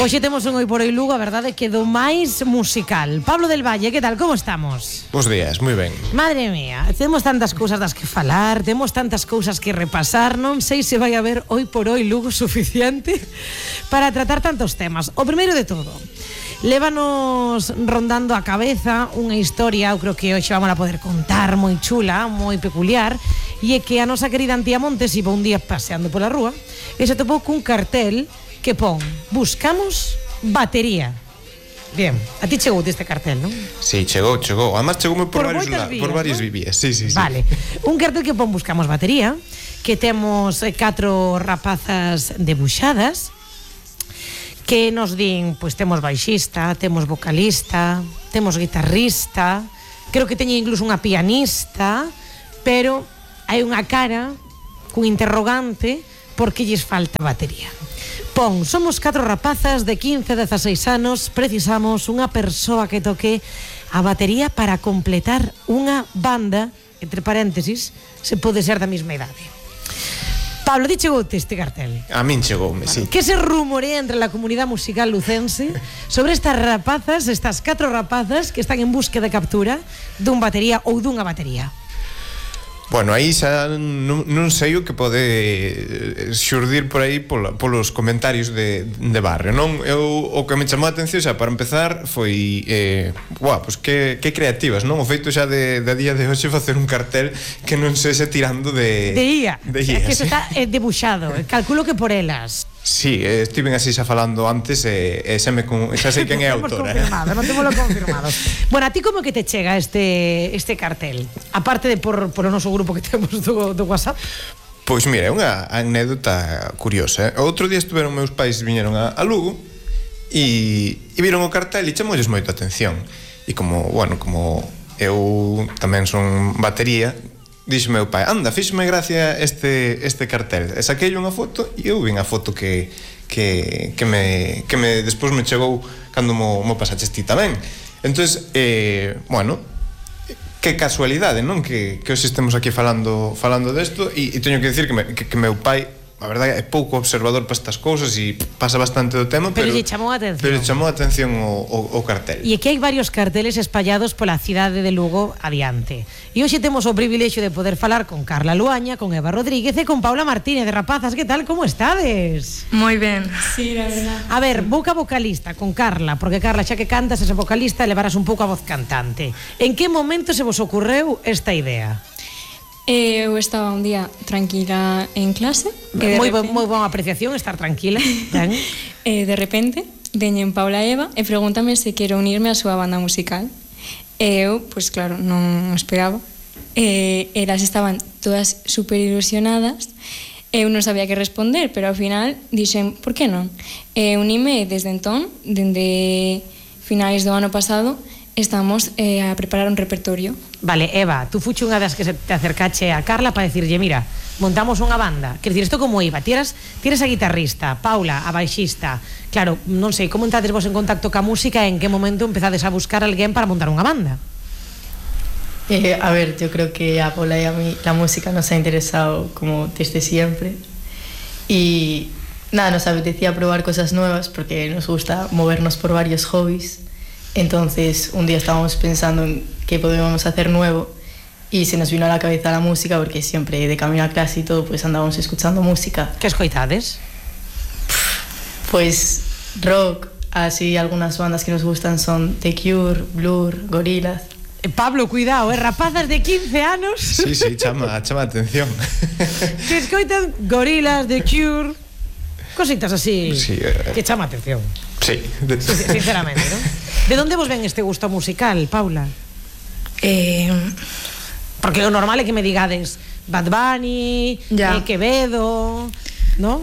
Hoxe temos un Oi por Oi Lugo, a verdade que do máis musical. Pablo del Valle, que tal, como estamos? Bos días, moi ben. Madre mía, temos tantas cousas das que falar, temos tantas cousas que repasar, non sei se vai haber Oi por Oi Lugo suficiente para tratar tantos temas. O primeiro de todo, lévanos rondando a cabeza unha historia, eu creo que hoxe vamos a poder contar, moi chula, moi peculiar, e é que a nosa querida Antía Montes iba un día paseando pola rúa e se topou cun cartel que pon: buscamos batería. Bien, a ti chegou este cartel, non? Sí, chegou. Además chegoume por varios ¿no? vías. Sí. Vale, un cartel que pon buscamos batería, que temos 4 rapazas debuxadas, que nos din, pois temos baixista, temos vocalista, temos guitarrista, creo que teñen incluso unha pianista, pero hai unha cara cun interrogante porque lles falta batería. Pon, somos 4 rapazas de 15-16 anos, precisamos unha persoa que toque a batería para completar unha banda, entre paréntesis, se pode ser da mesma idade. Pablo, ti chegoute este cartel? A min chegoume, sí. Que se rumorea entre la comunidade musical lucense sobre estas rapazas, estas 4 rapazas que están en búsqueda de captura dun batería ou dunha batería? Bueno, aí xa non sei o que pode xurdir por aí polos comentarios de barrio, non? O que me chamou a atención xa para empezar foi pois que creativas, non? O feito xa de día de hoxe facer un cartel que non sexa tirando de IA, que iso está debuxado, calculo que por elas. Sí, estiven así xa falando antes e xa sei quen é a autora. Non temos confirmado. Bueno, a ti como que te chega este cartel? Aparte de por o noso grupo que temos do WhatsApp. Pois mira, é unha anécdota curiosa. Outro día estuveron meus pais, viñeron a Lugo e viron o cartel e chamolles moito a atención. E como eu tamén son batería, dixo meu pai, anda, fíxome gracia este cartel. E saquei unha foto e eu vin a foto que me despois me chegou cando mo pasaches ti tamén. Entonces, que casualidade, non? Que hoxe estemos aquí falando desto e teño que dicir que meu pai, a verdade, é pouco observador para estas cousas e pasa bastante do tema, pero lle chamou a atención. Pero lle chamou a atención o cartel. E que hai varios carteles espallados pola cidade de Lugo adiante. E hoxe temos o privilexio de poder falar con Carla Luaña, con Eva Rodríguez e con Paula Martínez de Rapazas. Que tal, como estades? Moi ben. Sí, la verdad. A ver, boca vocalista con Carla, porque Carla, xa que cantas esa vocalista, levarás un pouco a voz cantante. En que momento se vos ocorreu esta idea? Eu estaba un día tranquila en clase. Moi boa apreciación, estar tranquila. De repente, veñen Paula e Eva e pregúntame se quero unirme á súa banda musical. E eu, pois claro, non esperaba. Elas estaban todas super ilusionadas. Eu non sabía que responder, pero ao final dixen, por que non? Unime desde entón, dende finais do ano pasado, estamos a preparar un repertorio. Vale, Eva, tú fuche unha das que se te acercache a Carla para decirlle, mira, montamos unha banda. Quer dicir, isto como iba? Ti eres a guitarrista, Paula, a baixista. Claro, non sei, como entrades vos en contacto ca música e en que momento empezades a buscar alguén para montar unha banda? A ver, yo creo que a Paula y a mí la música nos ha interesado como desde siempre. Y nada, nos apetecía probar cosas nuevas porque nos gusta movernos por varios hobbies. Entonces un día estábamos pensando en qué podíamos hacer nuevo y se nos vino a la cabeza la música porque siempre de camino a clase y todo pues andábamos escuchando música. ¿Qué escoitades? Pues rock, así algunas bandas que nos gustan son The Cure, Blur, Gorillaz. Pablo, cuidado, rapazas de 15 anos. Sí, chama atención. Que escoitan Gorillaz, The Cure, cositas así, sí, que chama atención. Sí. Sinceramente, ¿no? De onde vos ven este gusto musical, Paula? Porque o normal é que me digades Bad Bunny, Quevedo, ¿no?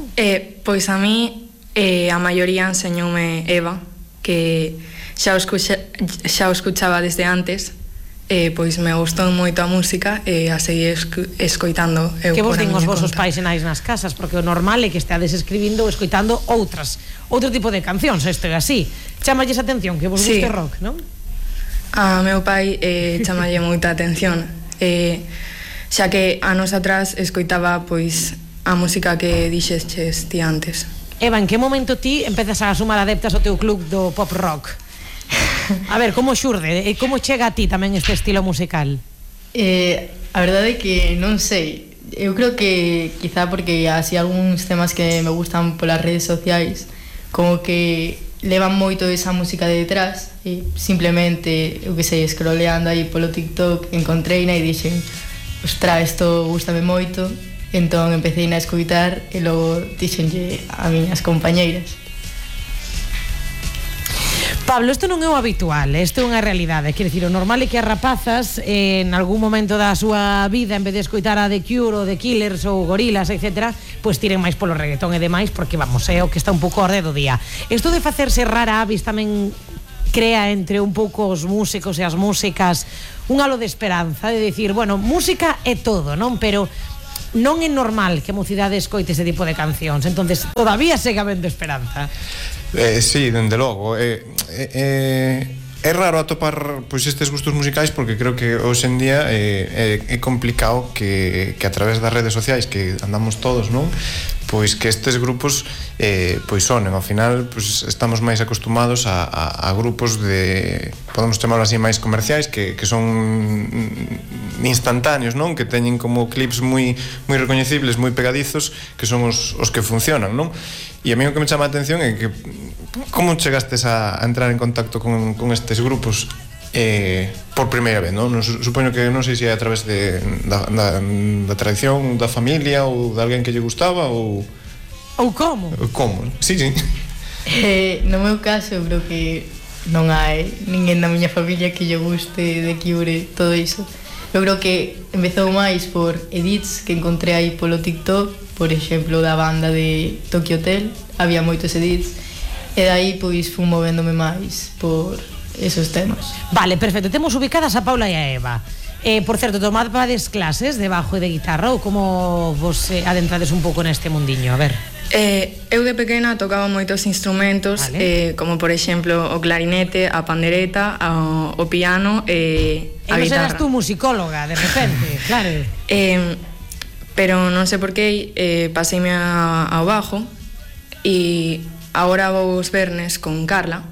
Pois a mí a maioría enseñoume Eva, que xa o escuchaba desde antes. Pois me gustou moito a música e a seguir escoitando eu. Que vos din os vosos pais e nais nas casas? Porque o normal é que esteades escribindo ou escoitando outro tipo de cancións, isto é así. Chámalles atención que vos guste rock, non? A meu pai chamalle moita atención, xa que anos atrás escoitaba pois a música que dixeches ti antes. Eva, en que momento ti empezas a sumar adeptas ao teu club do pop rock? A ver, como xurde? E como chega a ti tamén este estilo musical? A verdade é que non sei. Eu creo que quizá porque así algúns temas que me gustan polas redes sociais como que levan moito esa música de detrás e simplemente, eu que sei, scrolleando aí polo TikTok encontreina e dixen, ostra, isto gustame moito. Entón empecé a escoitar e logo dixenlle a miñas compañeiras. Pablo, isto non é o habitual, isto é unha realidade. Quero dicir, o normal é que as rapazas en algún momento da súa vida, en vez de escoitar a The Cure ou The Killers ou Gorillaz, etc., pois tiren máis polo reggaetón e demais, porque vamos, é o que está un pouco ao orde do día. Isto de facerse rara avis tamén crea entre un pouco os músicos e as músicas un halo de esperanza, de dicir, bueno, música é todo, non? Pero non é normal que a mocidade escoite ese tipo de cancións, entonces todavía segue habendo esperanza. Sí, dende logo. É raro atopar pois estes gustos musicais porque creo que hoxe en día é complicado que a través das redes sociais que andamos todos, non? Pois que estes grupos pois sonen, ao final pois estamos máis acostumados a grupos de, podemos chamarlo así, máis comerciais que son instantáneos, non? Que teñen como clips moi recoñecibles, moi pegadizos, que son os que funcionan, non? E a mí o que me chama a atención é que como chegastes a entrar en contacto con estes grupos por primeira vez, non? Supoño que non sei se é a través da tradición da familia ou de alguén que lle gustaba ou como? Como, sí. No meu caso, eu creo que non hai ninguén da miña familia que lle guste de Cure, todo iso. Eu creo que empezou máis por edits que encontrei aí polo TikTok, por exemplo, da banda de Tokyo Hotel, había moitos edits, e dai pois fui movéndome máis por esos temas. Vale, perfecto, temos ubicadas a Paula e a Eva. Por certo, tomades clases de bajo e de guitarra ou como vos adentrades un pouco neste mundiño? A ver. Eu de pequena tocaba moitos instrumentos, vale. Como por exemplo o clarinete, a pandereta, o piano e a guitarra. E non serás tú musicóloga, de repente, claro. Pero non sei por que paseime ao bajo e agora vou os vernes con Carla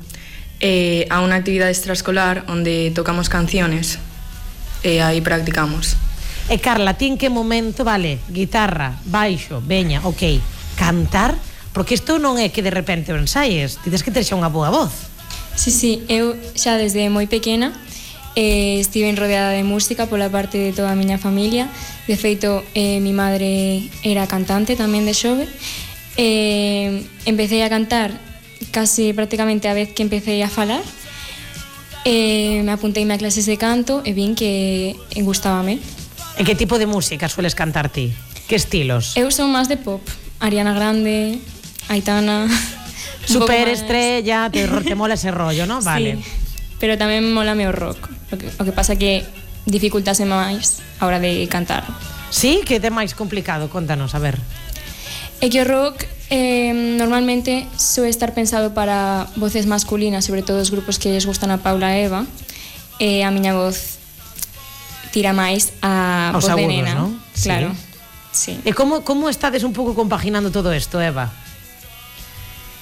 a unha actividade extraescolar onde tocamos canciones e aí practicamos. E Carla, ti en que momento, vale, guitarra, baixo, veña, ok, cantar? Porque isto non é que de repente o ensaies, tides que ter xa unha boa voz. Sí, eu xa desde moi pequena estive rodeada de música pola parte de toda a miña familia. De feito, mi madre era cantante tamén de xove. Empecé a cantar casi prácticamente a vez que empecé a falar. Me apunteime a clases de canto e vin que gustábame. En que tipo de música sueles cantar ti? Que estilos? Eu son máis de pop, Ariana Grande, Aitana. Superestrella, te mola ese rollo, ¿no? Vale. Sí, pero tamén mola o rock. O que pasa que dificultase máis a hora de cantar. Sí? Que é máis complicado? Contanos, a ver. É que o rock normalmente suele estar pensado para voces masculinas, sobre todo os grupos que lles gustan a Paula e Eva, e a miña voz tira máis a voz de nena, ¿no? Claro. Sí. E como estades un pouco compaginando todo isto, Eva?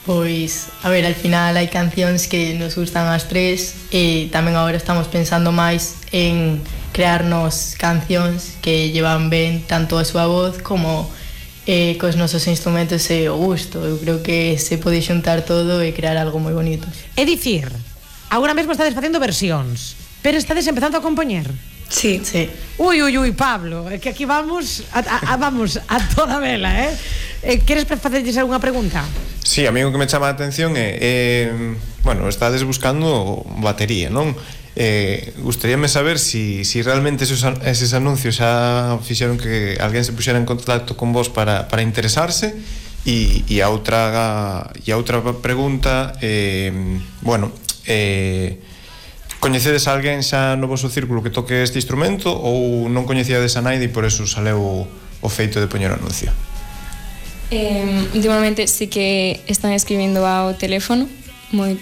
Pois, a ver, al final hai cancións que nos gustan as tres e tamén agora estamos pensando máis en crearnos cancións que llevan ben tanto a súa voz como cos nosos instrumentos e o gusto. Eu creo que se pode xuntar todo e crear algo moi bonito. É dicir, agora mesmo estades facendo versións, pero estades empezando a compoñer. Sí. Ui, Pablo, é que aquí vamos a toda vela, Queres facerlles algunha pregunta? Sí, a mí o que me chama a atención é bueno, estades buscando batería, non? Gustaríame saber si realmente eses anuncios xa fixeron que alguén se puxera en contacto con vos para interesarse e a outra pregunta bueno, coñecedes a alguén xa no vosso círculo que toque este instrumento ou non coñecíades a naide e por eso saleu o feito de poñer o anuncio? Últimamente sí que están escribindo ao teléfono,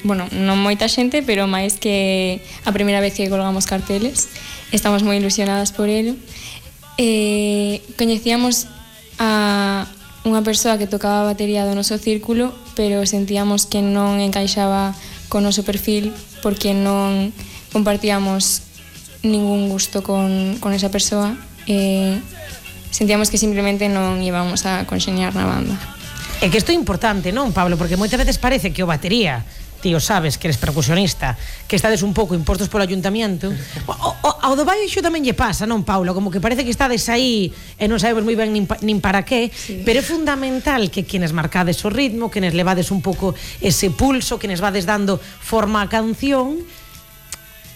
bueno, non moita xente, pero máis que a primeira vez que colgamos carteles. Estamos moi ilusionadas por ello. Coñecíamos a unha persoa que tocaba a batería do noso círculo, pero sentíamos que non encaixaba con o noso perfil porque non compartíamos ningún gusto con esa persoa e sentíamos que simplemente non íbamos a conxeñar na banda. É que isto é importante, non, Pablo? Porque moitas veces parece que o batería, tío, sabes que eres percusionista, que estades un pouco impostos polo ayuntamiento. Ao do baixo tamén lle pasa, non, Paulo? Como que parece que estades aí e non sabemos moi ben nin para qué, sí. Pero é fundamental que quienes marcades o ritmo, quienes levades un pouco ese pulso, quienes vades dando forma á canción,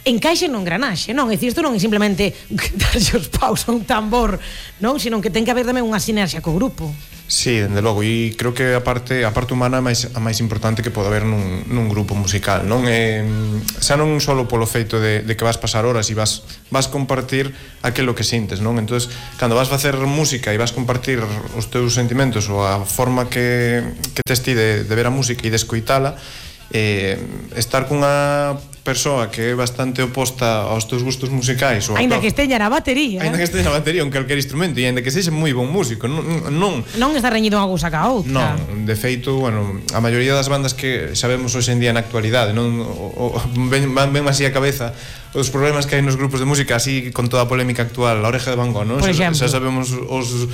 encaixe no engranaxe, non? É dicir, isto non é simplemente darlle os paus a un tambor, non? Sino que ten que haber tamén unha sinerxia co grupo. Sí, dende logo, e creo que a parte humana é a máis importante que pode haber nun grupo musical, non? Xa non solo polo feito de que vas pasar horas e vas compartir aquilo que sintes, non? Entonces, cando vas facer música e vas compartir os teus sentimentos ou a forma que tes ti de ver a música e de escoitala, estar cunha persoa que é bastante oposta aos teus gustos musicais, aínda que esteña na batería, en calquer instrumento, e aínda que sexa moi bon músico, non está reñido unha cousa ca outra. Non, de feito, bueno, a maioría das bandas que sabemos hoxe en día na actualidade, non ven así a cabeza os problemas que hai nos grupos de música, así con toda a polémica actual, a Oreja de Van Gogh, non? Xa sabemos os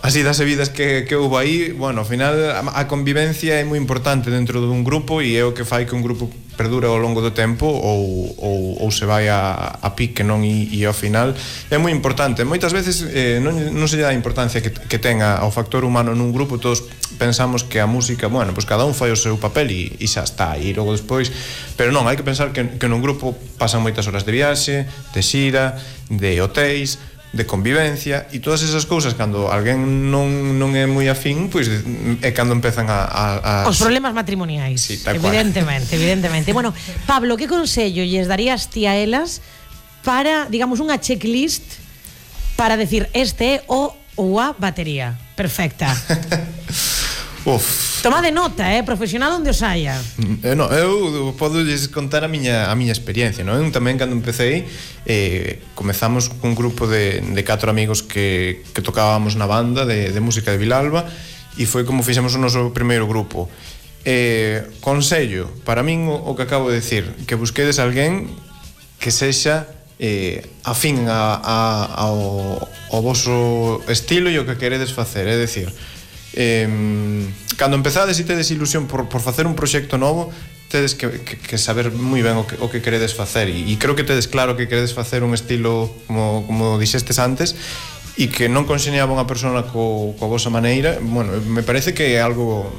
así das vidas que houve aí. Bueno, ao final a convivencia é moi importante dentro dun grupo e é o que fai que un grupo perdure ao longo do tempo ou se vai a pique, non? E ao final é moi importante. Moitas veces non se lle dá a importancia que tenga ao factor humano nun grupo. Todos pensamos que a música, bueno, pues cada un fai o seu papel e xa está, e logo despois, pero non, hai que pensar que nun grupo pasan moitas horas de viaxe, de xira, de hotéis, de convivencia, e todas esas cousas cando alguén non é moi afín, pois é cando empezan a os problemas matrimoniais. Sí, tal evidentemente. Bueno, Pablo, que consello lles darías ti a elas para, digamos, unha checklist para decir este é o ou a batería perfecta? Toma de nota, profesional onde os haya. Eu podo lles contar a miña experiencia, non? Tamén cando empecé comezamos cun grupo de 4 amigos que tocábamos na banda de música de Vilalba, e foi como fixemos o noso primeiro grupo. Consello, para min o que acabo de decir, que busquedes alguén que sexa afín ao voso estilo e o que queredes facer, é dicir, cando empezades e tedes ilusión por facer un proxecto novo, tedes que saber moi ben o que queredes facer, e creo que tedes claro que queredes facer un estilo como dixestes antes, e que non conxeñaba unha persona coa vosa maneira. Bueno, me parece que é algo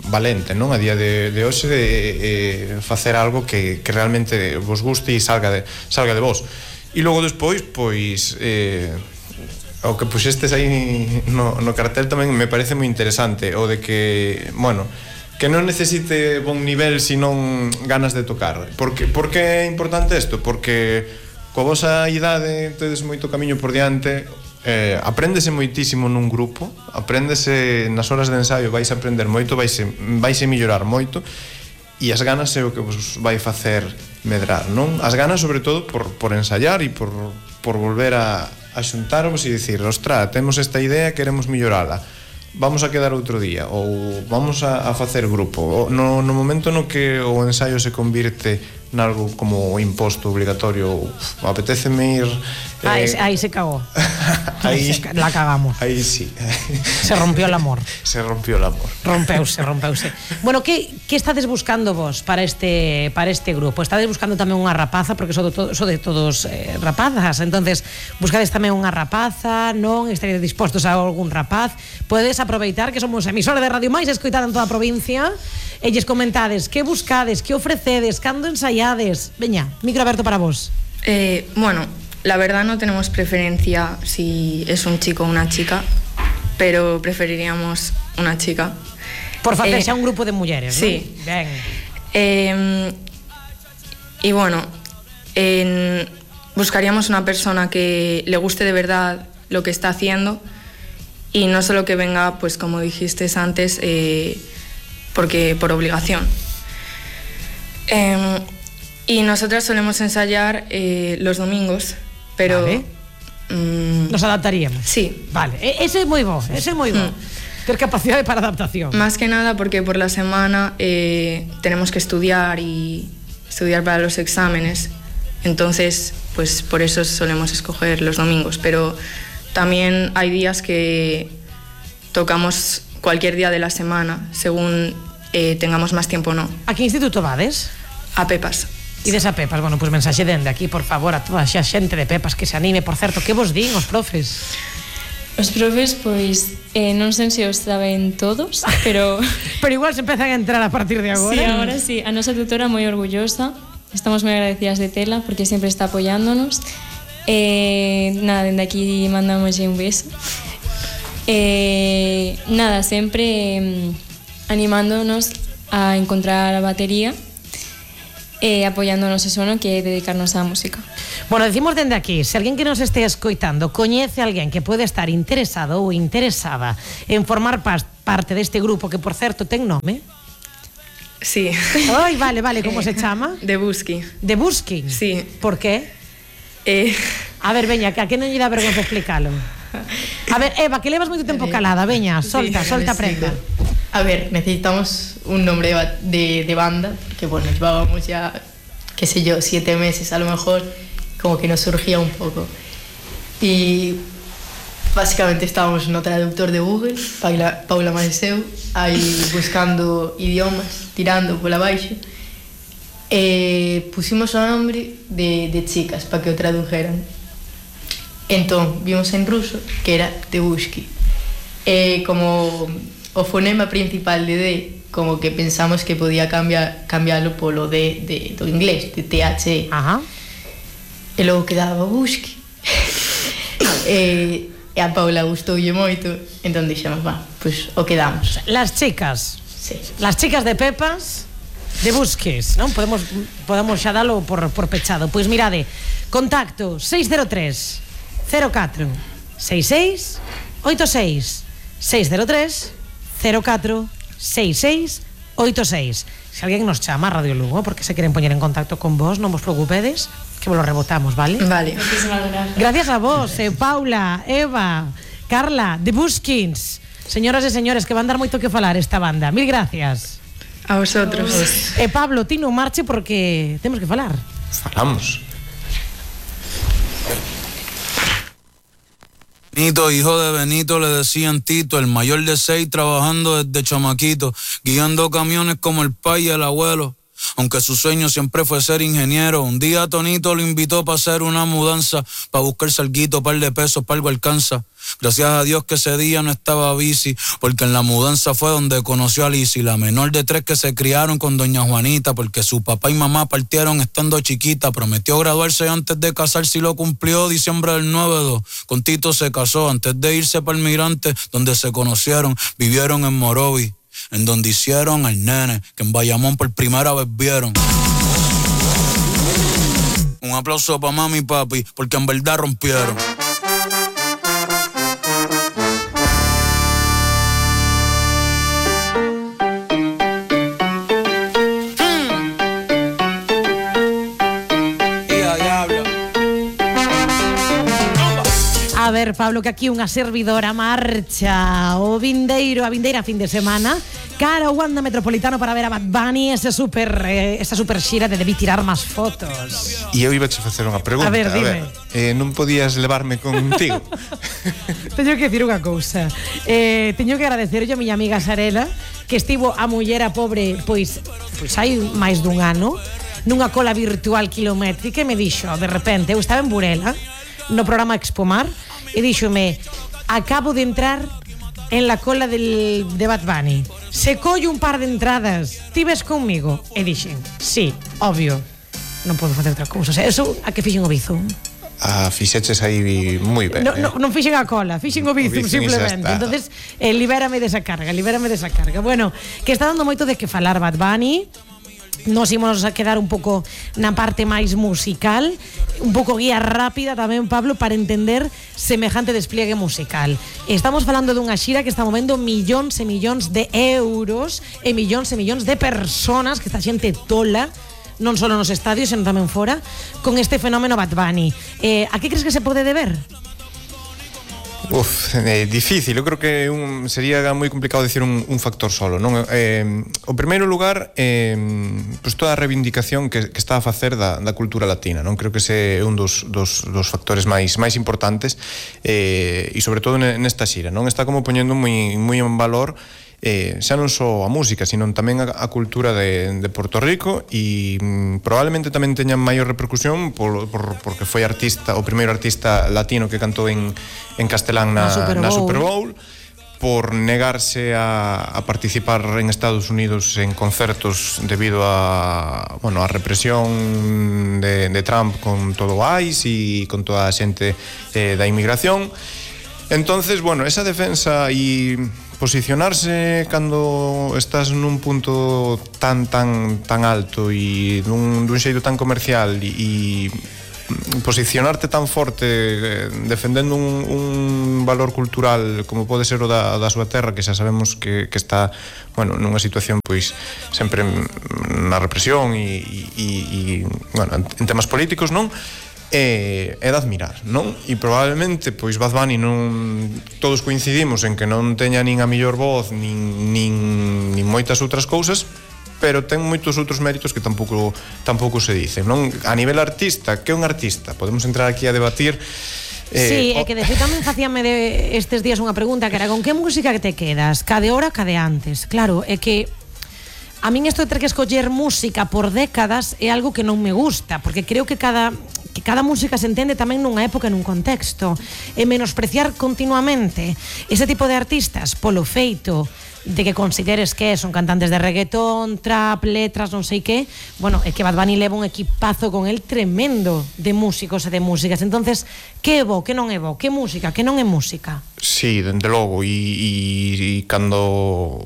valente, non? A día de hoxe de facer algo que realmente vos guste e salga de vos. E logo despois, pois o que puxestes aí no cartel tamén me parece moi interesante, o de que, bueno, que non necesite bon nivel senón ganas de tocar. Por que é importante isto? Porque coa vosa idade tedes moito camiño por diante, apréndese moitísimo nun grupo, apréndese nas horas de ensaio, vais a aprender moito, vais a mellorar moito, e as ganas é o que vos vai facer medrar, non? As ganas, sobre todo, por ensaiar e por volver a xuntarvos e dicir, ostra, temos esta idea, queremos mellorala, vamos a quedar outro día, ou vamos a facer grupo. No momento no que o ensaio se convirte nalgo como imposto obligatorio, apeteceme ir... Aí se cagou. Aí la cagamos. Aí sí. Se rompió el amor. Rompeuse. Bueno, que estades buscando vos para este grupo? Estades buscando tamén unha rapaza, porque so de todos rapazas, entonces buscades tamén unha rapaza, non? Estaréis dispostos a algún rapaz? Podedes aproveitar que somos emisora de radio máis escoitada en toda a provincia e lles comentades que buscades, que ofrecedes, cando ensaiades. Veña, micro aberto para vos. Bueno, la verdad no tenemos preferencia si es un chico o una chica, pero preferiríamos una chica. Por facer xa un grupo de mulleres, sí. ¿no? Ben. Y bueno, buscaríamos una persona que le guste de verdad lo que está haciendo y no solo que venga, pues como dijiste antes, porque por obligación. Y nosotras solemos ensayar los domingos, pero... Vale. Nos adaptaríamos. Sí. Vale, ese é moi bo, Ter capacidade para adaptación. Más que nada porque por la semana tenemos que estudiar y estudiar para los exámenes. Entonces, pues por eso solemos escoger los domingos. Pero también hay días que tocamos cualquier día de la semana, según tengamos más tiempo o no. A que instituto vades? A Pepas. Ides a Pepas, bueno, pois mensaxe dende aquí, por favor, a toda xa xente de Pepas que se anime. Por certo, que vos din os profes? Os profes, pois, non sei se os saben todos, pero... Pero igual se empezan a entrar a partir de agora. Sí, agora sí. A nosa tutora moi orgullosa. Estamos moi agradecidas de tela porque sempre está apoiándonos. Nada, dende aquí mandamos un beso. Nada, sempre animándonos a encontrar a batería, apoiándonos eso, ¿no? Que é dedicarnos á música. Bueno, decimos dende aquí, se alguén que nos este escoitando coñece a alguén que pode estar interesado ou interesada en formar parte deste grupo, que por certo ten nome. Sí. Ai, vale, como se chama? De Busqui. De Busqui? Sí. Por qué? A ver, veña, que a que non lle dá vergonza explícalo. A ver, Eva, que levas moito tempo calada, veña, solta prenda. A ver, necesitamos un nombre de banda, porque bueno, llevábamos ya, qué sé yo, 7 meses a lo mejor, como que nos surgía un poco. Y básicamente estábamos no traductor de Google, Paula Maeseu, aí buscando idiomas, tirando pola baixo. Pusimos o nombre de chicas para que o tradujeran. Entón, vimos en ruso que era Tebushki. Como o fonema principal de D, como que pensamos que podía cambiarlo polo D do inglés, de THE. Ajá. E logo quedaba Bushki. E a Paula gustoulle moito, entón dixemos, pois o quedamos. Las chicas. Sí. Las chicas de Pepas de Busquis, non? Podemos xa dalo por pechado. Pois mirade, contacto 603 04 66 86 603 04 66 86. Se alguén nos chama a Radio Lugo porque se queren poñer en contacto con vos, non vos preocupedes, que vos lo rebotamos, vale? Vale. Gracias a vos, Paula, Eva, Carla, The Buskins. Señoras e señores, que van dar moito que falar esta banda. Mil gracias. A vosotros. Pablo, ti non marche porque temos que falar. Falamos. Benito, hijo de Benito, le decían Tito, el mayor de 6, trabajando desde chamaquito, guiando camiones como el pai y el abuelo. Aunque su sueño siempre fue ser ingeniero, un día Tonito lo invitó para hacer una mudanza, para buscar salguito, par de pesos, para algo alcanza. Gracias a Dios que ese día no estaba bici, porque en la mudanza fue donde conoció a Lizzy, la menor de 3 que se criaron con doña Juanita, porque su papá y mamá partieron estando chiquita. Prometió graduarse antes de casarse y lo cumplió, diciembre del 9-2. Con Tito se casó antes de irse para el Migrante, donde se conocieron, vivieron en Morovi, en donde hicieron al nene, que en Bayamón por primera vez vieron. Un aplauso para mami y papi, porque en verdad rompieron. A ver, Pablo, que aquí unha servidora marcha a vindeira fin de semana cara ao Wanda Metropolitano para ver a Bad Bunny, esa super xira de debí tirar máis fotos. E eu iba a facer unha pregunta. A ver, dime. Non podías levarme contigo? Teño que dicir unha cousa. Teño que agradecerlle a miña amiga Sarela, que estivo a muller a pobre, pois hai máis dun ano, nunha cola virtual kilométrica, e me dixo, de repente, eu estaba en Burela, no programa Expomar, e díxome, acabo de entrar en la cola de Bad Bunny. Se collo un par de entradas, ti ves conmigo? E dixen, sí, obvio, non podo facer outra cousa. O sea, eso a que fixen o Bizum. Fixeches aí moi ben. Non fixen a cola, fixen o Bizum simplemente. Entonces, libérame desa carga. Bueno, que está dando moito de que falar Bad Bunny. Nos ímonos a quedar un pouco na parte máis musical, un pouco guía rápida tamén, Pablo, para entender semejante despliegue musical. Estamos falando dunha xira que está movendo millóns e millóns de euros e millóns de personas, que esta xente tola, non só nos estadios, senón tamén fora, con este fenómeno Bad Bunny. A que crees que se pode deber? Difícil, eu creo que sería moi complicado decir un factor solo, non? O primeiro lugar, pues toda a reivindicación que está a facer da cultura latina, non? Creo que ese é un dos factores máis importantes, e sobre todo nesta xira, non? Está como poñendo moi en valor xa non só a música, sino tamén a cultura de Porto Rico, e probablemente tamén teña maior repercusión porque foi o primeiro artista latino que cantou en castelán na Super Bowl, por negarse a participar en Estados Unidos en concertos debido a represión de Trump con todo o ICE e con toda a xente da inmigración. Entonces, esa defensa e posicionarse cando estás nun punto tan alto e dun xeito tan comercial e posicionarte tan forte defendendo un valor cultural como pode ser o da súa terra, que xa sabemos que está nunha situación pois sempre na represión e en temas políticos, non? É de admirar, non? E probablemente, pois Bad Bunny todos coincidimos en que non teña nin a mellor voz nin moitas outras cousas, pero ten moitos outros méritos que tampouco se dicen, non? A nivel artista, que é un artista? Podemos entrar aquí a debatir. Sí, é que de feito tamén facíame estes días unha pregunta que era: con que música que te quedas? Ca de hora, ca de antes? Claro, é que a min isto de ter que escoller música por décadas é algo que non me gusta, porque creo que cada música se entende tamén nunha época e nun contexto, e menospreciar continuamente ese tipo de artistas polo feito de que consideres que son cantantes de reggaetón, trap, letras, non sei que, é que Bad Bunny leva un equipazo con el tremendo de músicos e de músicas. Entonces, que é bo, que non é bo, que música, que non é música? Sí, dende logo, e cando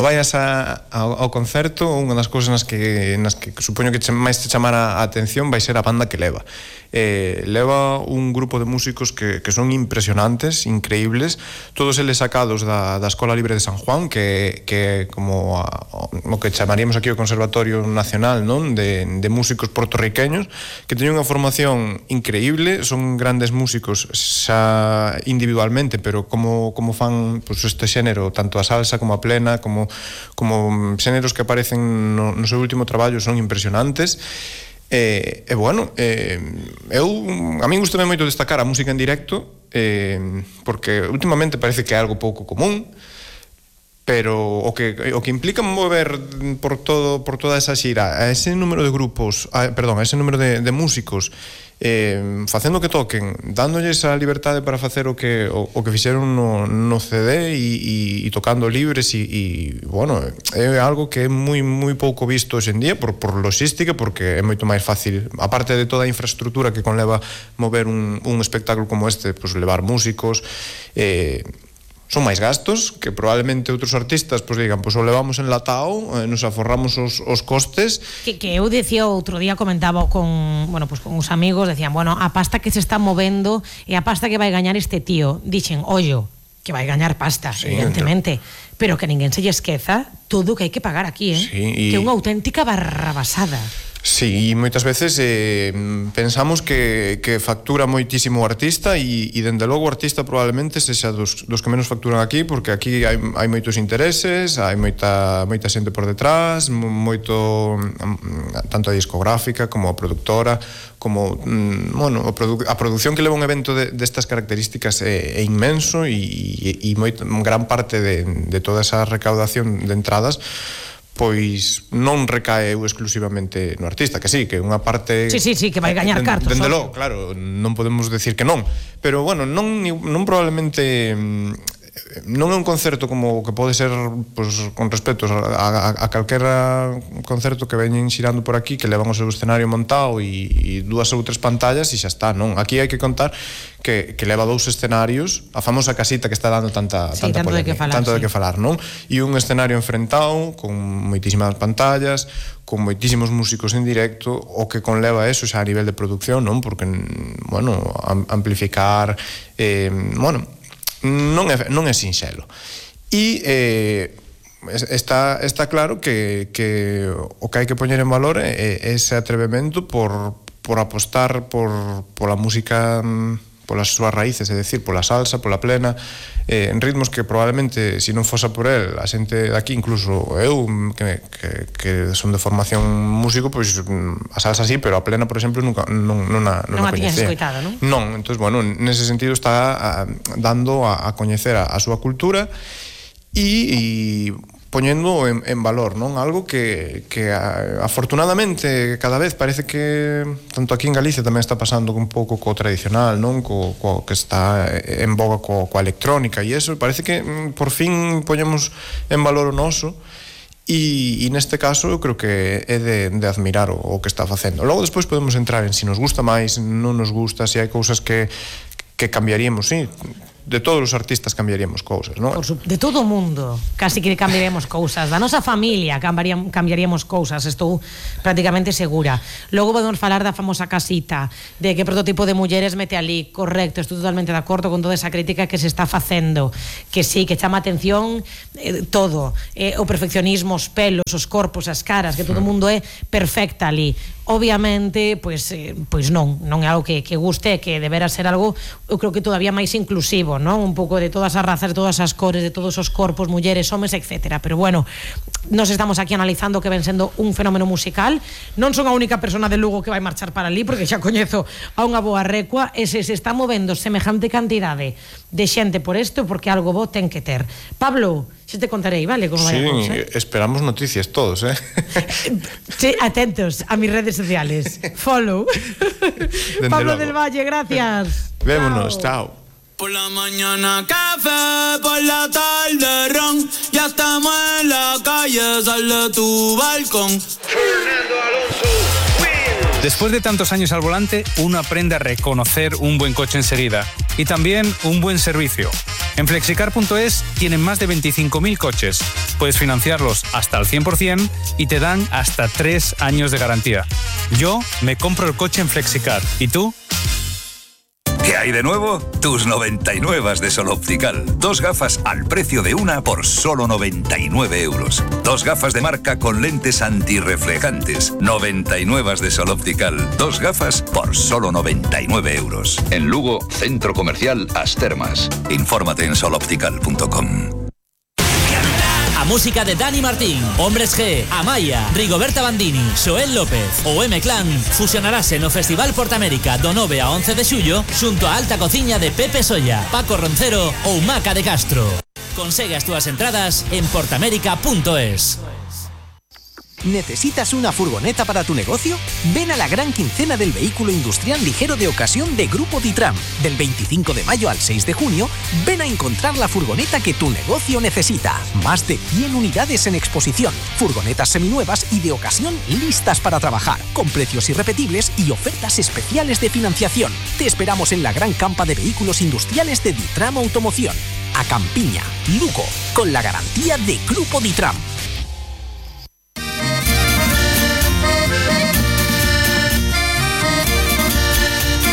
vayas ao concerto, unha das cousas nas que supoño que máis te chamara a atención vai ser a banda que leva. Leva un grupo de músicos que son impresionantes, increíbles, todos eles sacados da Escola Libre de San Juan, que é como o que chamaríamos aquí o Conservatorio Nacional, non? De músicos portorriqueños, que teñen unha formación increíble, son grandes músicos xa individualmente, pero como fan este xénero, tanto a salsa como a plena, como xéneros que aparecen no seu último traballo, son impresionantes. A min gustame moito destacar a música en directo, porque últimamente parece que é algo pouco común, pero o que implica mover por toda esa xira a ese número de grupos, a ese número de músicos, facendo que toquen, dándolles a liberdade para facer o que fixeron no CD e tocando libres, é algo que é moi pouco visto hoxe en día por logística, porque é moito máis fácil, aparte de toda a infraestructura que conleva mover un espectáculo como este, levar músicos, son máis gastos que probablemente outros artistas digan, o levamos enlatado, nos aforramos os costes. Que eu decía outro día, comentaba con uns amigos, decían, a pasta que se está movendo e a pasta que vai gañar este tío. Dixen, ollo, que vai gañar pasta, sí, evidentemente, pero que ninguén se lle esqueza todo o que hai que pagar aquí, sí, que é unha auténtica barrabasada. Sí, e moitas veces pensamos que factura moitísimo o artista, e dende logo o artista probablemente sexa dos que menos facturan aquí, porque aquí hai moitos intereses, hai moita xente por detrás, tanto a discográfica como a productora, como a produción que leva un evento destas características é inmenso, e gran parte de toda esa recaudación de entradas pois non recae exclusivamente no artista, que sí, que unha parte... Sí, que vai gañar cartos. Dende logo, claro, non podemos decir que non, pero non probablemente... Non é un concerto como que pode ser, con respecto a calquera concerto que veñen xirando por aquí, que levan o seu escenario montado e dúas ou tres pantallas e xa está, non? Aquí hai que contar que leva 2 escenarios, a famosa casita que está dando tanta polémica, tanto de que falar, non? E un escenario enfrentado con moitísimas pantallas, con moitísimos músicos en directo, o que conleva eso xa a nivel de producción, non? Porque, amplificar, non é sinxelo. E está claro que o que hai que poñer en valor é ese atrevemento por apostar pola música polas súas raíces, é dicir, pola salsa, pola plena, en ritmos que probablemente, se non fosa por el, a xente daqui, incluso eu, que son de formación músico, pois a salsa sí, pero a plena, por exemplo, nunca non a tiñas escoitado, non? Non, entón, bueno, nese sentido está dando a coñecer a súa cultura e poñendo en valor, non? Algo que afortunadamente cada vez parece que tanto aquí en Galicia tamén está pasando un pouco co tradicional, non? Co que está en boga coa electrónica e eso, parece que por fin poñemos en valor o noso e neste caso eu creo que é de admirar o que está facendo. Logo despois podemos entrar en se nos gusta máis, non nos gusta, se hai cousas que cambiaríamos, sí. De todos os artistas cambiaríamos cousas, non? De todo o mundo, casi que cambiaríamos cousas. Da nosa familia cambiaríamos cousas, estou prácticamente segura. Logo podemos falar da famosa casita, de que prototipo de mulleres mete ali, correcto, estou totalmente de acordo con toda esa crítica que se está facendo, que sí, que chama atención todo, o perfeccionismo, os pelos, os corpos, as caras, que todo o mundo é perfecta ali. Obviamente, pois non é algo que guste, que debera ser algo, eu creo que todavía máis inclusivo, non? Un pouco de todas as razas, de todas as cores, de todos os corpos, mulleres, homes, etcétera. Pero bueno, nos estamos aquí analizando que ven sendo un fenómeno musical. Non son a única persona de Lugo que vai marchar para ali, porque xa coñezo a unha boa recua, e se está movendo semejante cantidade de xente por isto, porque algo bo ten que ter. Pablo, xa te contarei, vale? Como vai a cousa. Esperamos noticias todos, Sí, atentos a mis redes sociales. Follow. Pablo del Valle, gracias. Vémonos, chao. Por la mañana café, por la tarde ron, ya estamos en la calle, sal de tu balcón. Fernando Alonso, win. Después de tantos años al volante, uno aprende a reconocer un buen coche enseguida y también un buen servicio. En flexicar.es tienen más de 25.000 coches. Puedes financiarlos hasta al 100% y te dan hasta 3 años de garantía. Yo me compro el coche en Flexicar. ¿Y tú? ¿Qué hay de nuevo? Tus 99 de Sol Optical. 2 gafas al precio de una por solo 99 euros. 2 gafas de marca con lentes antirreflejantes. 99 de Sol Optical. 2 gafas por solo 99 euros. En Lugo, Centro Comercial As Termas. Infórmate en soloptical.com. A música de Dani Martín, Hombres G, Amaya, Rigoberta Bandini, Xoel López ou M-Clan fusionarase no Festival Portamérica do 9 a 11 de xullo xunto a Alta Cociña de Pepe Solla, Paco Roncero ou Maca de Castro. Consegue as túas entradas en portamérica.es. ¿Necesitas una furgoneta para tu negocio? Ven a la gran quincena del vehículo industrial ligero de ocasión de Grupo Ditram. Del 25 de mayo al 6 de junio, ven a encontrar la furgoneta que tu negocio necesita. Más de 100 unidades en exposición, furgonetas seminuevas y de ocasión listas para trabajar, con precios irrepetibles y ofertas especiales de financiación. Te esperamos en la gran campa de vehículos industriales de Ditram Automoción. A Campiña, Lugo, con la garantía de Grupo Ditram.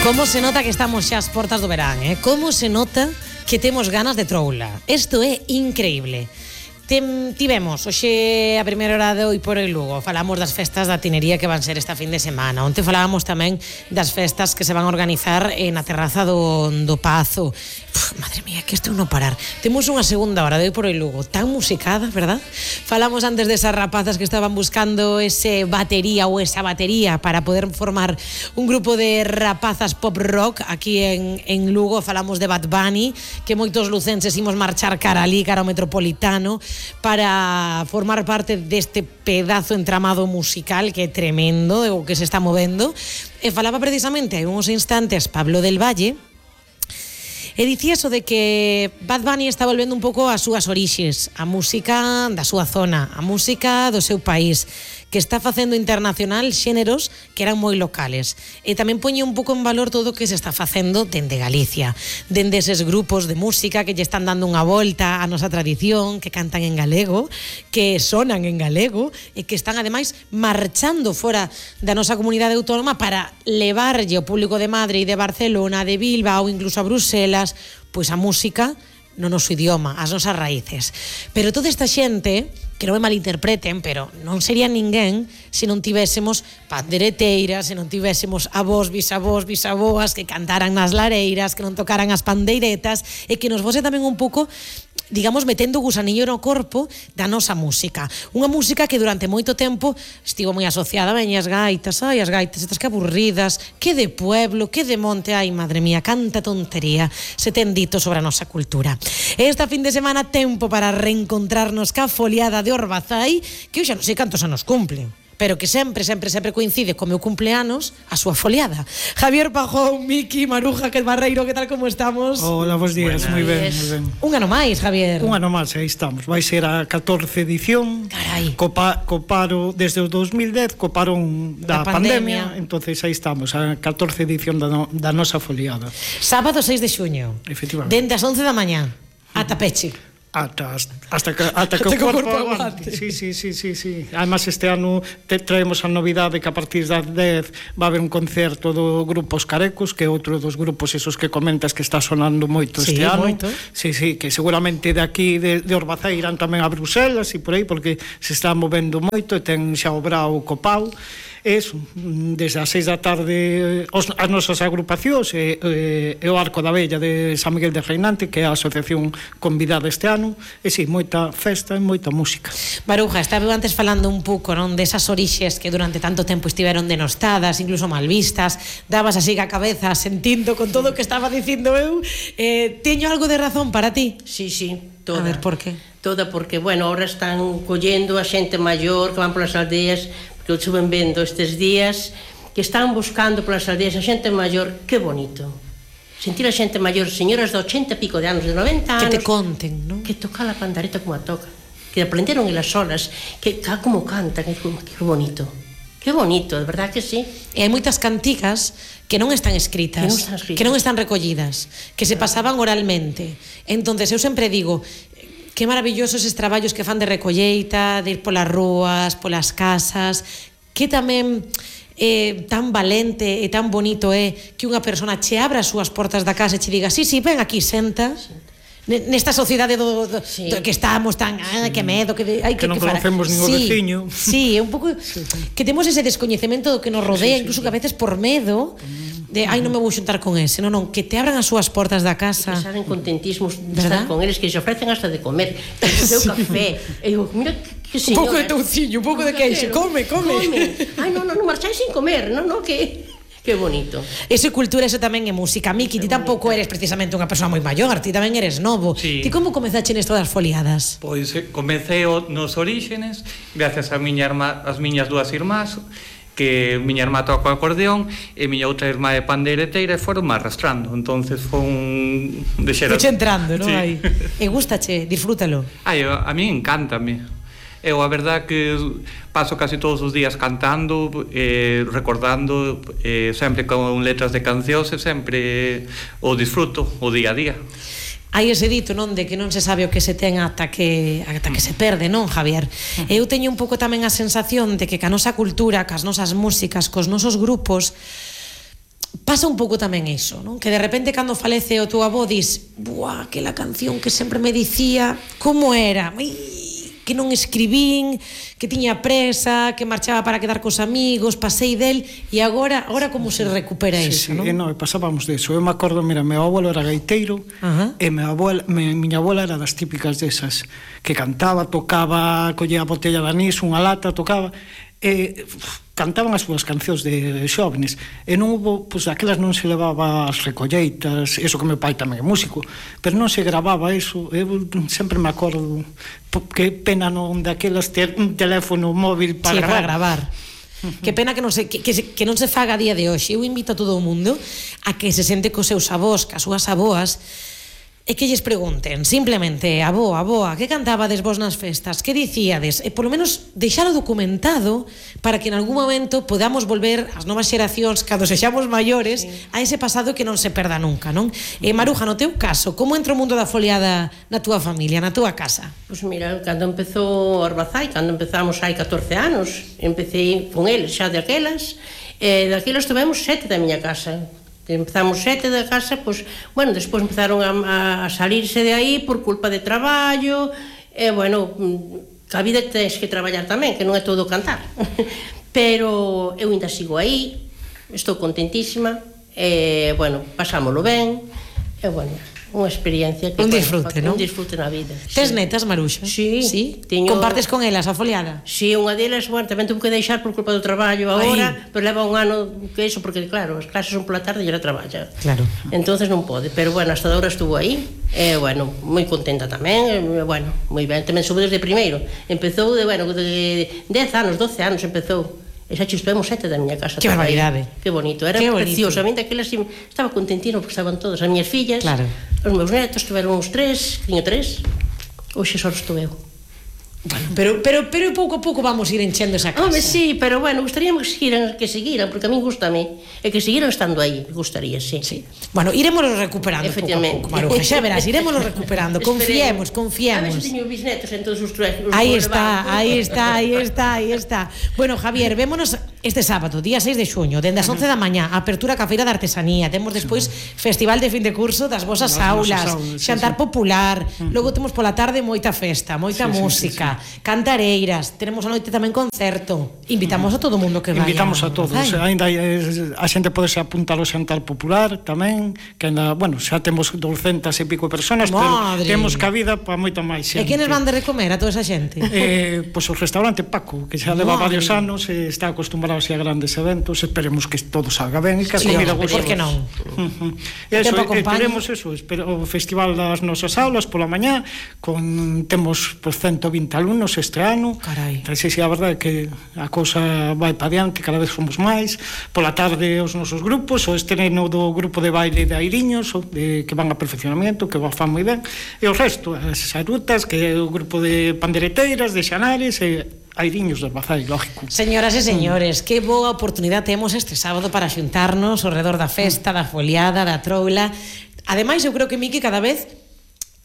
Como se nota que estamos xa ás portas do verán, Como se nota que temos ganas de troula. Isto é increíble. Tivemos hoxe a primeira hora de hoy por el Lugo. Falamos das festas da tinería que van ser esta fin de semana. Onte falábamos tamén das festas que se van a organizar na terraza do Pazo. Madre mía, que isto non parar. Temos unha segunda hora de hoy por el Lugo tan musicada, verdad? Falamos antes de esas rapazas que estaban buscando ese batería ou esa batería para poder formar un grupo de rapazas pop rock aquí en Lugo. Falamos de Bad Bunny, que moitos lucenses imos marchar cara ali, cara ao Metropolitano, para formar parte deste pedazo entramado musical que é tremendo, o que se está movendo. E falaba precisamente hai uns instantes Pablo del Valle, e dicía eso de que Bad Bunny está volvendo un pouco ás súas orixes, a música da súa zona, a música do seu país, que está facendo internacional xéneros que eran moi locales. E tamén poñe un pouco en valor todo o que se está facendo dende Galicia, dende eses grupos de música que lle están dando unha volta á nosa tradición, que cantan en galego, que sonan en galego e que están ademais marchando fora da nosa comunidade autónoma para levarlle ao público de Madrid, de Barcelona, de Bilbao ou incluso a Bruselas, pois a música no noso idioma, as nosas raíces. Pero toda esta xente que non me malinterpreten, pero non sería ninguén se non tivésemos pandereteiras, se non tivésemos avós, bisavós, que cantaran nas lareiras, que non tocaran as pandeiretas, e que nos fose tamén un pouco, digamos, metendo o gusanillo no corpo da nosa música. Unha música que durante moito tempo estivo moi asociada a as gaitas, as gaitas estas que aburridas, que de pueblo, que de monte, ai, madre mía, canta tontería se ten dito sobre a nosa cultura. Esta fin de semana tempo para reencontrarnos ca foliada de Orbazai, que eu xa non sei cantos anos cumplen, pero que sempre coincide co meu cumpleanos a súa foliada. Javier Pajón, Miki, Maruja, que Barreiro, que tal, como estamos? Hola, bons días, moi ben, moi ben. Un ano máis, Javier. Un ano máis, aí estamos. Vai ser a 14 edición. Carai. Co paro desde o 2010, co parón da pandemia, entonces aí estamos, a 14 edición da nosa foliada. Sábado 6 de xuño. Efectivamente. Dende as 11 da mañá ata peche. Hasta que o corpo aguante. Sí. Además, este ano traemos a novidade que a partir das 10 va a haber un concerto do grupo Os Carecos, que é outro dos grupos esos que comentas que está sonando moito este ano. Moito. Sí, que seguramente de aquí de Orbazai irán tamén a Bruselas e por aí, porque se está movendo moito e ten xa o Brao copao. Eso, desde as 6 da tarde as nosas agrupacións e o Arco da Vella de San Miguel de Reinante, que é a asociación convidada este ano, e si, moita festa e moita música. Maruja, estaba antes falando un pouco, non, desas orixes que durante tanto tempo estiveron denostadas, incluso mal vistas, dabas así a cabeza sentindo con todo o que estaba dicindo eu. Teño algo de razón para ti? Sí, toda. A ver, por que? Toda, porque, bueno, ahora están collendo a xente maior que van polas aldeas, que eu estuve vendo estes días, que están buscando polas aldeas a xente maior. Que bonito sentir a xente maior, señoras de 80 e pico de anos, de 90 anos, que te conten, non? Que toca a pandareta como a toca, que aprenderon elas solas, que como cantan, que bonito, de verdad que sí. E hai moitas cantigas que non están escritas, que non están recollidas, que se pasaban oralmente. Entonces eu sempre digo, que maravillosos eses traballos que fan de recolleita, de ir polas rúas, polas casas, que tamén tan valente e tan bonito é que unha persona che abra as súas portas da casa e che diga, sí, ven aquí, senta. Nesta sociedade do que estamos tan, que medo, que non conocemos ningún veciño. Sí, é un pouco que temos ese descoñecemento do que nos rodea, incluso que a veces por medo de, non me vou xuntar con ese, non, que te abran as súas portas da casa. Que salen contentísimos de estar con eles, que se ofrecen hasta de comer, que o seu café. E digo, mira que señora. Un pouco de touciño, un pouco de queixo, come. Ai, non marcháis sin comer, non, que bonito. Eso é cultura, eso tamén é música. Miki, ti tampouco eres precisamente unha persoa moi maior, ti tamén eres novo. Sí. Ti como comezaste nesto das foliadas? Pois comecei nos orígenes, gracias a as miñas dúas irmás, que miña irmá toca o acordeón e miña outra irmá é pandeireteira, e foron máis arrastrando, entonces foi un Fuche entrando, non? Sí. E gústache, disfrútalo. A mí encántame. Eu a verdad que paso casi todos os días cantando, recordando, sempre con letras de cancións, e sempre o disfruto o día a día. Hai ese dito, non, de que non se sabe o que se ten ata que se perde, non, Javier? Eu teño un pouco tamén a sensación de que ca nosa cultura, cas nosas músicas, cos nosos grupos, pasa un pouco tamén iso, non? Que de repente cando falece o teu avó dis, buah, aquela canción que sempre me dicía, como era? Que non escribín, que tiña presa, que marchaba para quedar cos amigos, pasei del, e agora como se recupera iso, non? Non, pasábamos deso. Eu me acordo, mira, meu abuelo era gaiteiro, e miña abuela era das típicas desas, que cantaba, tocaba, collía a botella de anís, unha lata, tocaba, e cantaban as súas cancións de xóvenes, e non hubo, pois aquelas non se levaba as recolleitas, eso que meu pai tamén é músico, pero non se gravaba eso. Eu sempre me acordo, que pena non daquelas ter un teléfono móvil para gravar. Que pena que non se faga a día de hoxe. Eu invito a todo o mundo a que se sente cos seus avós, cas súas aboas, e que lles pregunten, simplemente, aboa, que cantabades vos nas festas, que dicíades, e polo menos deixalo documentado para que en algún momento podamos volver as novas xeracións, cando sexamos maiores, a ese pasado que non se perda nunca, non? Maruja, no teu caso, como entra o mundo da foliada na túa familia, na túa casa? Pois mira, cando empezou Orbazai, cando empezamos hai 14 anos, empecé con eles xa de aquelas, e daquelas tivemos 7 da miña casa. Empezamos 7 da casa, pois, bueno, despois empezaron a salirse de aí por culpa de traballo, e, bueno, a vida tens que traballar tamén, que non é todo cantar. Pero eu ainda sigo aí, estou contentísima, bueno, pasámoslo ben, e bueno, unha experiencia que un disfrute, non? Un disfrute na vida. Tes netas, Maruxa? Sí. Compartes con elas a foliada? Sí, unha delas, bueno, tamén tuve que deixar por culpa do traballo agora, pero leva un ano que iso, porque claro, as clases son pola tarde e ela traballa. Claro. Entonces non pode, pero bueno, hasta agora estuvo aí, bueno, moi contenta tamén, bueno, moi ben, tamén soube desde primeiro. Empezou de 10 anos, 12 anos empezou. E xa chispemos 7 da miña casa. Que barbaridade. Que bonito, era precioso. A mí daquelas estaba contentino porque estaban todas as miñas fillas, os meus netos, tiveron uns 3, tiño 3. Hoxe só estou eu. Bueno, pero pouco a pouco vamos ir enchendo esa casa. Home, sí, pero bueno, gustaríamos que seguiran, porque a mí gustame, e que seguiran estando aí, gustaría, sí. Bueno, iremoslo recuperando pouco a pouco, Maruja, xa verás, iremoslo recuperando, confiemos. A ver se teño bisnetos en todos os Aí está. Bueno, Javier, vémonos este sábado, día 6 de xuño, dende as 11 da mañá, apertura ca Feira de Artesanía, temos despois festival de fin de curso das vosas aulas, xantar popular, logo temos pola tarde moita festa, moita música, cantareiras, tenemos a noite tamén concerto. Invitamos a todo o mundo que vaya. Invitamos a todos, ainda a xente pode se apuntar ao xantar popular tamén, que ainda, bueno, xa temos 200 e pico personas, pero temos cabida para moita máis xente. E quenes van de recomer a toda esa xente? Pois o restaurante Paco, que xa leva varios anos e está acostumbrado a grandes eventos, esperemos que todo salga ben e que a comida guste. Por que non? Teremos o festival das nosas aulas pola mañá, temos 120 alumnos este ano. Carai. Sí, a verdade é que a cousa vai para diante, cada vez somos máis. Pola tarde os nosos grupos, o estreno do grupo de baile de Airiños, que van a perfeccionamento, que fan moi ben, e o resto, as rutas, que é o grupo de pandereteiras, de xanares e Airiños do Bazai, lógico. Señoras e señores, que boa oportunidade temos este sábado para xuntarnos ao redor da festa, da foliada, da troula. Ademais, eu creo que, Miki, cada vez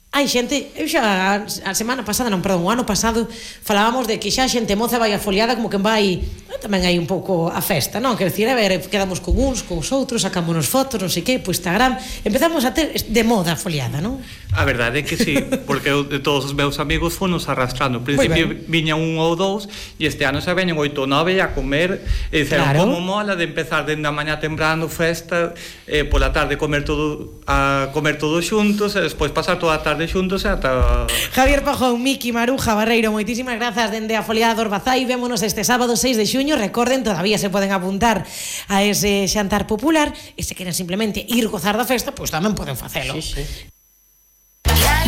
hai xente, eu xa a semana pasada, non, perdón, o ano pasado falábamos de que xa a xente moza vai a foliada como que vai, tamén hai un pouco a festa, non? Quer dicir, a ver, quedamos con uns, con os outros, sacámonos fotos, non sei que, po Instagram, empezamos a ter de moda a foliada, non? A verdade é que sí, porque eu, de todos os meus amigos fonos arrastrando. Ao principio viña un ou dous, e este ano xa veñen 8 ou 9 a comer, e dixeron, como mola de empezar dende a mañá temprano festa, pola tarde comer todos xuntos, e despois pasar toda a tarde xuntos e ata... Javier Pajón, Miki, Maruja, Barreiro, moitísimas grazas dende a foliada do Orbazai. Vémonos este sábado 6 de xuño. Recorden, todavía se poden apuntar a ese xantar popular, e se queren simplemente ir gozar da festa, pois tamén poden facelo. Sí.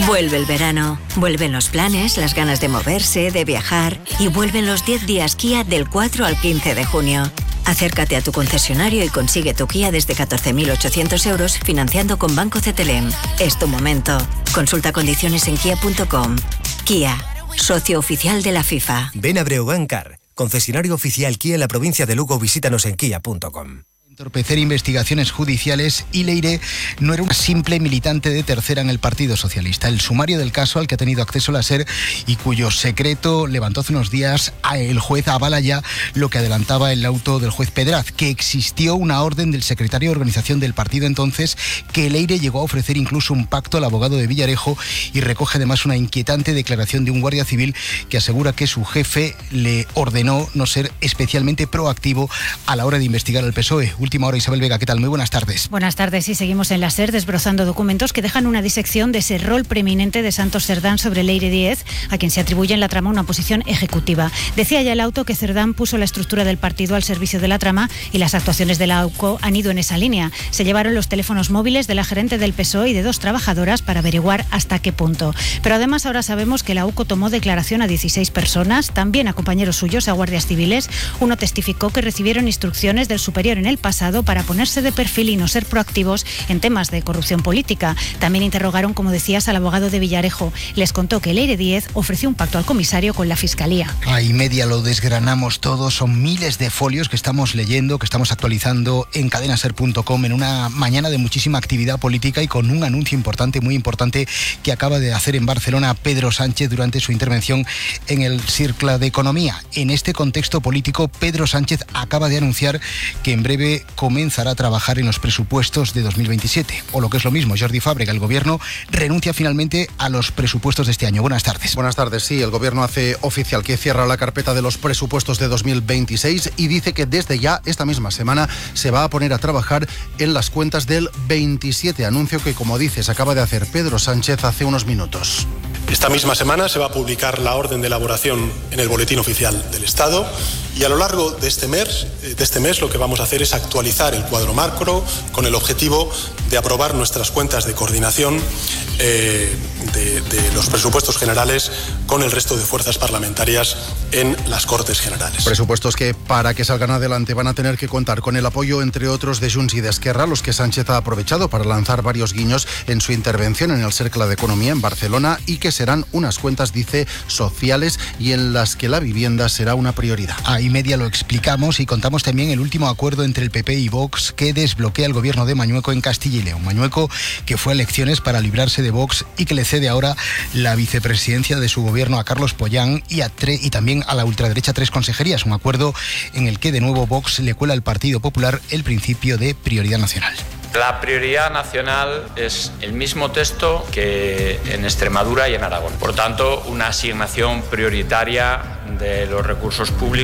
Vuelve el verano, vuelven los planes, las ganas de moverse, de viajar, y vuelven los 10 días Kia del 4 al 15 de junio. Acércate a tu concesionario y consigue tu Kia desde 14.800 euros financiando con Banco CTLM. Es tu momento. Consulta condiciones en kia.com. Kia, socio oficial de la FIFA. Ven a Breogán Car, concesionario oficial Kia en la provincia de Lugo. Visítanos en kia.com. Entorpecer investigaciones judiciales, y Leire no era una simple militante de tercera en el Partido Socialista. El sumario del caso al que ha tenido acceso la SER y cuyo secreto levantó hace unos días el juez avala ya lo que adelantaba el auto del juez Pedraz, que existió una orden del secretario de organización del partido entonces, que Leire llegó a ofrecer incluso un pacto al abogado de Villarejo, y recoge además una inquietante declaración de un guardia civil que asegura que su jefe le ordenó no ser especialmente proactivo a la hora de investigar al PSOE. Última hora, Isabel Vega, ¿qué tal? Muy buenas tardes. Buenas tardes, y seguimos en la SER desbrozando documentos que dejan una disección de ese rol preeminente de Santos Cerdán sobre Leire Díez, a quien se atribuye en la trama una posición ejecutiva. Decía ya el auto que Cerdán puso la estructura del partido al servicio de la trama, y las actuaciones de la AUCO han ido en esa línea. Se llevaron los teléfonos móviles de la gerente del PSOE y de 2 trabajadoras para averiguar hasta qué punto. Pero además ahora sabemos que la AUCO tomó declaración a 16 personas, también a compañeros suyos, a guardias civiles. Uno testificó que recibieron instrucciones del superior en el pasado para ponerse de perfil y no ser proactivos en temas de corrupción política. También interrogaron, como decías, al abogado de Villarejo. Les contó que Leire Díez ofreció un pacto al comisario con la Fiscalía. Ahí media lo desgranamos todo, son miles de folios que estamos leyendo, que estamos actualizando en cadenaser.com en una mañana de muchísima actividad política y con un anuncio importante, muy importante, que acaba de hacer en Barcelona Pedro Sánchez durante su intervención en el Cercle de Economía. En este contexto político, Pedro Sánchez acaba de anunciar que en breve que comenzará a trabajar en los presupuestos de 2027. O lo que es lo mismo, Jordi Fàbrega, el Gobierno renuncia finalmente a los presupuestos de este año. Buenas tardes. Buenas tardes, sí. El Gobierno hace oficial que cierra la carpeta de los presupuestos de 2026 y dice que desde ya, esta misma semana, se va a poner a trabajar en las cuentas del 27. Anuncio que, como dices, acaba de hacer Pedro Sánchez hace unos minutos. Esta misma semana se va a publicar la orden de elaboración en el Boletín Oficial del Estado y a lo largo de este mes lo que vamos a hacer es actualizar el cuadro macro con el objetivo de aprobar nuestras cuentas de coordinación de los presupuestos generales con el resto de fuerzas parlamentarias en las Cortes Generales. Presupuestos que, para que salgan adelante, van a tener que contar con el apoyo, entre otros, de Junts y de Esquerra, los que Sánchez ha aprovechado para lanzar varios guiños en su intervención en el Cercle d'Economia en Barcelona, y que serán unas cuentas, dice, sociales y en las que la vivienda será una prioridad. A Y-media lo explicamos y contamos también el último acuerdo entre el PP y Vox que desbloquea el gobierno de Mañueco en Castilla y León. Mañueco, que fue a elecciones para librarse de Vox y que le cede ahora la vicepresidencia de su gobierno a Carlos Pollán y también a la ultraderecha 3 consejerías. Un acuerdo en el que de nuevo Vox le cuela al Partido Popular el principio de prioridad nacional. La prioridad nacional es el mismo texto que en Extremadura y en Aragón. Por tanto, una asignación prioritaria de los recursos públicos